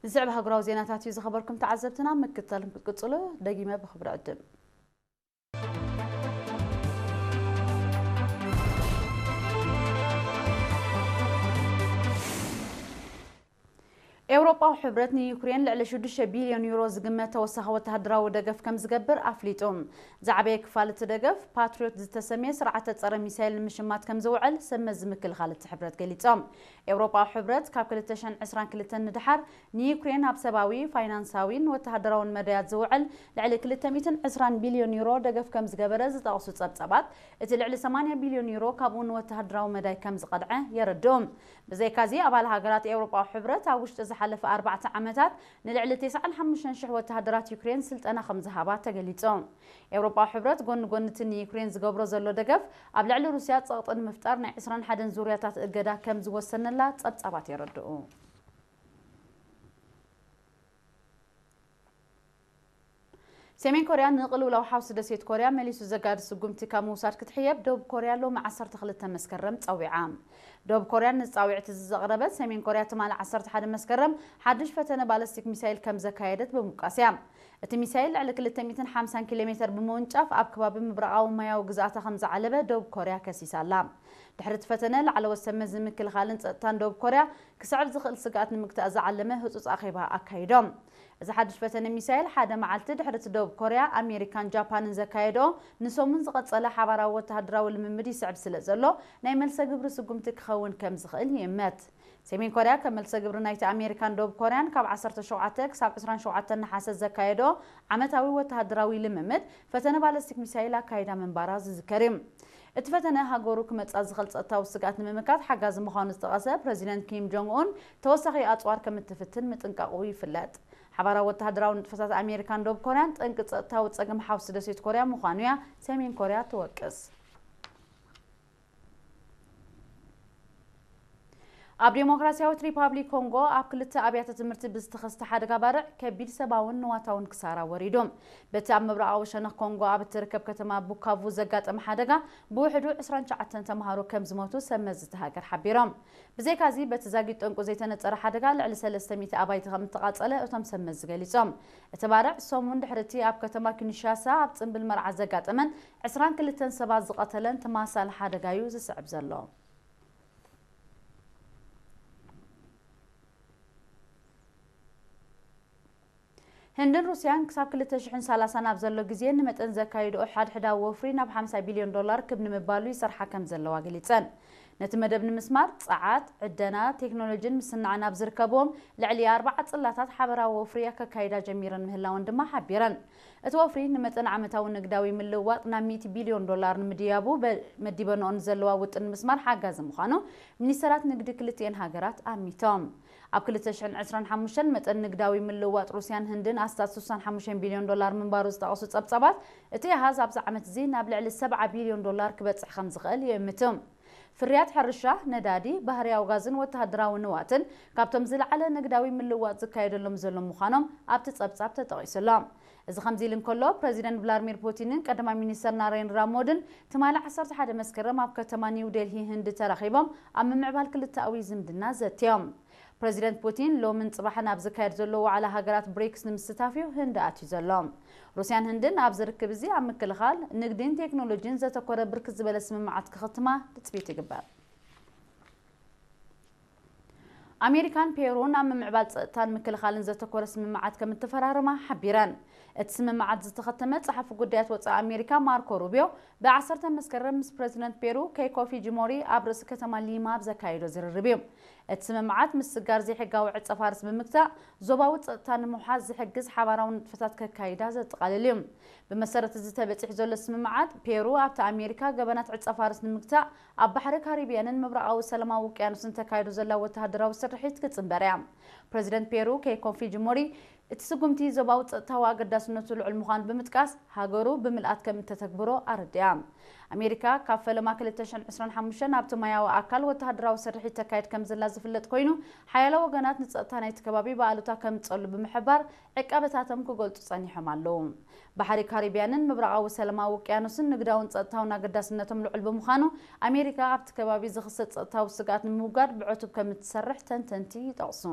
ዝስዕብ ሃገራዊ ዜናታት እዩ ዝኸበርኩም ተዓዘብትና፣ ምክትታልኩም ክትቅጽሉ ደጊመ ብኽብሪ ዕድም። ኤውሮጳዊ ሕብረት ንዩክሬን ልዕሊ ሽዱሽተ ቢልዮን ዩሮ ዝግመት ተወሳኺ ወተሃደራዊ ደገፍ ከም ዝገብር ኣፍሊጡ። ዝዓበየ ክፋል እቲ ደገፍ ፓትሪዮት ዝተሰምየ ስርዓተ ጸረ ሚሳይል ንምሽማት ከም ዝውዕል ሰብ መዚ ምክልኻል እቲ ሕብረት ገሊጾም። ኤውሮጳዊ ሕብረት ካብ ክልተ ሽሕን ዕስራን ክልተን ንደሓር ንዩክሬን ኣብ ሰብኣዊ፣ ፋይናንሳዊን ወተሃደራውን መዳያት ዝውዕል ልዕሊ ክልተ ሚእትን ዕስራን ቢልዮን ዩሮ ደገፍ ከም ዝገበረ ዝጠቕሱ ጸብጻባት፣ እቲ ልዕሊ ሰማንያ ቢልዮን ዩሮ ካብኡ ንወተሃደራዊ መዳይ ከም ዝቐድዐ የረድኡ። ብዘይካዚ፣ ኣባል ሃገራት ኤውሮጳዊ ሕብረት ኣብ ውሽጢ ዝሓለፈ ኣርባዕተ ዓመታት ንልዕሊ ተስዓን ሓሙሽተን ሽሕ ወተሃደራት ዩክሬን ስልጠና ከም ዝሃባ ተገሊጹ። ኤውሮጳዊ ሕብረት ጎኒ ጎኒ እቲ ንዩክሬን ዝገብሮ ዘሎ ደገፍ፣ ኣብ ልዕሊ ሩስያ ጸቕጢ ንምፍጣር ናይ ዕስራን ሓደን ዙርያታት እገዳ ከም ዝወሰነላ ጸብጻባት የረድኡ። ሰሜን ኮርያ ንቅልውላው ሓውሲ ደሴት ኮርያ መሊሱ ዘጋድድ ስጉምቲ ካብ ምውሳድ ክትሕየብ ደቡብ ኮርያ ሎሚ ዓሰርተ ክልተ መስከረም ጸዊዓ። ደቡብ ኮርያ ንጻውዒት እዚ ዘቕረበት፣ ሰሜን ኮርያ ትማሊ ዓሰርተ ሓደ መስከረም ሓድሽ ፈተነ ባለስቲክ ሚሳይል ከም ዘካየደት ብምውቃስ እያ። እቲ ሚሳይል ልዕሊ ክልተ ሚእትን ሓምሳን ኪሎ ሜተር ብምውንጫፍ ኣብ ከባቢ ምብራቓዊ ማያዊ ግዝኣታ ከም ዝዓለበ ደቡብ ኮርያ ከሲሳ ኣላ። ድሕሪ እቲ ፈተነ፣ ላዕለዎት ሰብ መዚ ምክልኻልን ጸጥታን ደቡብ ኮርያ ክስዕብ ዝኽእል ስግኣት ንምግታእ ዝዓለመ ህጹጽ ኣኼባ ኣካይዶም። እዚ ሓድሽ ፈተነ ሚሳይል ሓደ መዓልቲ ድሕሪ እቲ ደቡብ ኮርያ፣ ኣሜሪካን ጃፓንን ዘካየድኦ ንሰሙን ዝቐጸለ ሓባራዊ ወተሃደራዊ ልምምድ ይስዕብ ስለ ዘሎ፣ ናይ መልሰ ግብሪ ስጉምቲ ክኸውን ከም ዝኽእል ይእመት። ሰሜን ኮርያ ከም መልሰ ግብሪ ናይቲ ኣሜሪካን ደቡብ ኮርያን ካብ ዓሰርተ ሸውዓተ ክሳብ ዕስራን ሸውዓተን ነሓሰ ዘካየድኦ ዓመታዊ ወተሃደራዊ ልምምድ፣ ፈተነ ባለስቲክ ሚሳይል ኣካይዳ ምንባራ ዝዝከር እዩ። እቲ ፈተነ ሃገሩ ክመጽኣ ዝኽእል ጸጥታዊ ስግኣት ንምምካት ሓጋዚ ምዃኑ ዝጠቐሰ ፕረዚደንት ኪም ጆንግ ኡን፣ ተወሳኺ ኣጽዋር ከም እትፍትን ምጥንቃቑ ይፍለጥ። ሓባራዊ ወተሃደራዊ ንጥፈታት ኣሜሪካን ደቡብ ኮርያን ጠንቂ ጸጥታዊ ጸገም ሓውሲ ደሴት ኮርያ ምዃኑ እያ ሰሜን ኮርያ ትወቅስ። ኣብ ዴሞክራሲያዊት ሪፓብሊክ ኮንጎ ኣብ ክልተ ኣብያተ ትምህርቲ ብዝተኸስተ ሓደጋ ባርዕ ከቢድ ሰብኣውን ንዋታውን ክሳራ ወሪዱ። በቲ ኣብ ምብራቓዊ ሸነኽ ኮንጎ ኣብ እትርከብ ከተማ ቡካቩ ዘጋጠመ ሓደጋ ብውሕዱ ዕስራን ትሽዓተን ተምሃሮ ከም ዝሞቱ ሰብ መዚ እታ ሃገር ሓቢሮም። ብዘይካዚ፣ በቲ ዛጊት ጠንቁ ዘይተነጸረ ሓደጋ ልዕሊ ሰለስተ ሚእቲ ኣባይቲ ከም እተቓጸለ እቶም ሰብ መዚ ገሊጾም። እቲ ባርዕ ሰሙን ድሕሪ እቲ ኣብ ከተማ ኪንሻሳ ኣብ ጽምብል መርዓ ዘጋጠመን ዕስራን ክልተን ሰባት ዝቐተለን ተመሳሳሊ ሓደጋ እዩ ዝስዕብ ዘሎ። ህንድን ሩስያን ክሳብ ክልተ ሽሕን ሰላሳን ኣብ ዘሎ ግዜ ንመጠን ዘካይድኦ ሓድሕዳዊ ወፍሪ ናብ ሓምሳ ቢልዮን ዶላር ክብ ንምባሉ ይሰርሓ ከም ዘለዋ ገሊጸን። ነቲ መደብ ንምስማር፣ ጸዓት፣ ዕደና፣ ቴክኖሎጂን ምስናዕን ኣብ ዝርከብዎም ልዕሊ ኣርባዓ ጽላታት ሓበራዊ ወፍሪ ከካይዳ ጀሚረን ምህላወን ድማ ሓቢረን። እቲ ወፍሪ ንመጠን ዓመታዊ ንግዳዊ ምልውዋጥ ናብ ሚእቲ ቢልዮን ዶላር ንምድያቡ በ-፣ መዲበንኦ ንዘለዋ ውጥን ንምስማር ሓጋዚ ምዃኑ ሚኒስተራት ንግዲ ክልቲኤን ሃገራት ኣሚቶም። ኣብ ክልተ ሽሕን ዕስራን ሓሙሽተን መጠን ንግዳዊ ምልውዋጥ ሩስያን ህንድን ኣስታት ስሳን ሓሙሽተን ቢልዮን ዶላር ምንባሩ ዝጠቐሱ ጸብጻባት፣ እቲ ኣሃዝ ኣብዚ ዓመት እዚ ናብ ልዕሊ ሰብዓ ቢልዮን ዶላር ክበጽሕ ከም ዝኽእል ይእምቱ። ፍርያት ሕርሻ፣ ነዳዲ፣ ባህርያዊ ጋዝን ወተሃደራዊ ንዋትን ካብቶም ዝለዓለ ንግዳዊ ምልውዋጥ ዝካየደሎም ዘሎ ምዃኖም ኣብቲ ጸብጻብ ተጠቒሱ ኣሎ። እዚ ከምዚ ኢሉ እንከሎ፣ ፕረዚደንት ቭላድሚር ፑቲንን ቀዳማይ ሚኒስተር ናሬንድራ ሞድን ትማሊ ዓሰርተ ሓደ መስከረም ኣብ ከተማ ኒው ዴልሂ ህንዲ ተራኺቦም ኣብ ምምዕባል ክልተኣዊ ዝምድና ዘትዮም። ፕረዚደንት ፑቲን ሎምን ጽባሕን ኣብ ዝካየድ ዘሎ ዋዕላ ሃገራት ብሪክስ ንምስታፍ እዩ ህንዲ ኣትዩ ዘሎ። ሩስያን ህንድን ኣብዚ ርክብ እዚ ኣብ ምክልኻል፣ ንግዲን ቴክኖሎጂን ዘተኮረ ብርክት ዝበለ ስምምዓት ክኽትማ ትጽቢት ይግበር። ኣሜሪካን ፔሩን ኣብ ምምዕባል ጸጥታን ምክልኻልን ዘተኮረ ስምምዓት ከም እተፈራረማ ሓቢረን። እቲ ስምምዓት ዝተኸተመ ጸሓፊ ጉዳያት ወጻኢ ኣሜሪካ ማርኮ ሩቢዮ ብዓሰርተ መስከረም ምስ ፕረዚደንት ፔሩ ኬይኮ ፊጂሞሪ ኣብ ርእሲ ከተማ ሊማ ኣብ ዘካየዶ ዝርርብ እዩ። እቲ ስምምዓት ምስጋር ዘይሕጋዊ ዕጸ ፋርስ ብምግታእ ዞባዊ ጸጥታ ንምውሓስ ዝሕግዝ ሓባራዊ ንጥፈታት ከካይዳ ዘጠቓልል እዩ። ብመሰረት እዚ ተበጺሑ ዘሎ ስምምዓት፣ ፔሩ ኣብቲ ኣሜሪካ ገበናት ዕጸ ፋርስ ንምግታእ ኣብ ባሕሪ ካሪብያንን ምብራቓዊ ሰላማዊ ውቅያኖስን ተካይዶ ዘላ ወተሃደራዊ ስርሒት ክትጽንበር እያ። ፕረዚደንት ፔሩ ኬይኮ ፊጂሞሪ፣ እቲ ስጉምቲ ዞባዊ ጸጥታዊ ኣገዳስነቱ ልዑል ምዃኑ ብምጥቃስ፣ ሃገሩ ብምልኣት ከም እተተግብሮ ኣረዲኣ። ኣሜሪካ ካብ ፈለማ ክልተ ሽሕን ዕስራን ሓሙሽተን ኣብቲ ማያዊ ኣካል ወተሃደራዊ ስርሒት ተካይድ ከም ዘላ ዝፍለጥ ኮይኑ፣ ሓያሎ ወገናት ንጸጥታ ናይቲ ከባቢ ብኣሉታ ከምጸሉ ብምሕባር ዕቃበታቶም ክገልጹ ጸኒሖም ኣለዉ። ባሕሪ ካሪብያንን ምብራቓዊ ሰላማዊ ውቅያኖስን ንግዳውን ጸጥታውን ኣገዳስነቶም ልዑል ብምዃኑ፣ ኣሜሪካ ኣብቲ ከባቢ ዝኽሰት ጸጥታዊ ስግኣት ንምውጋድ ብዕቱብ ከም እትሰርሕ ተንተንቲ ይጠቕሱ።